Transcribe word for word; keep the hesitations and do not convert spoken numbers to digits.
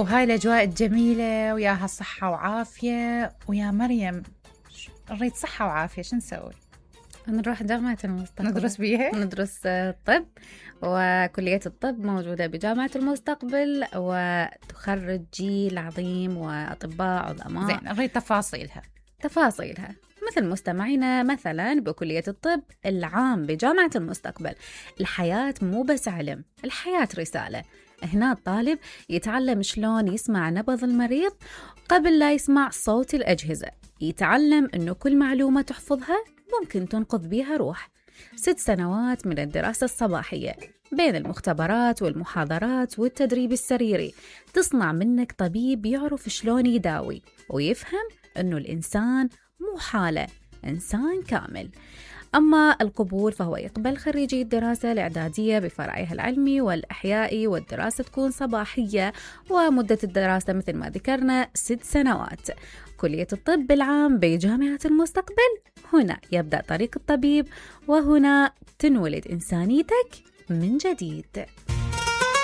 وهاي الأجواء الجميلة وياها صحة وعافية. ويا مريم نريد صحة وعافية، شو نسوي؟ نروح جامعة المستقبل ندرس بيها؟ ندرس طب، وكلية الطب موجودة بجامعة المستقبل وتخرج جيل عظيم وأطباء عظماء. زين، نريد تفاصيلها تفاصيلها مثل مستمعينا مثلا بكلية الطب العام بجامعة المستقبل. الحياة مو بس علم، الحياة رسالة. هنا الطالب يتعلم شلون يسمع نبض المريض قبل لا يسمع صوت الأجهزة، يتعلم أنه كل معلومة تحفظها ممكن تنقذ بيها روح. ست سنوات من الدراسة الصباحية بين المختبرات والمحاضرات والتدريب السريري تصنع منك طبيب يعرف شلون يداوي ويفهم أنه الإنسان مو حالة، إنسان كامل. أما القبول فهو يقبل خريجي الدراسة الإعدادية بفرعها العلمي والأحيائي، والدراسة تكون صباحية ومدة الدراسة مثل ما ذكرنا ست سنوات. كلية الطب العام بجامعة المستقبل، هنا يبدأ طريق الطبيب، وهنا تنولد إنسانيتك من جديد.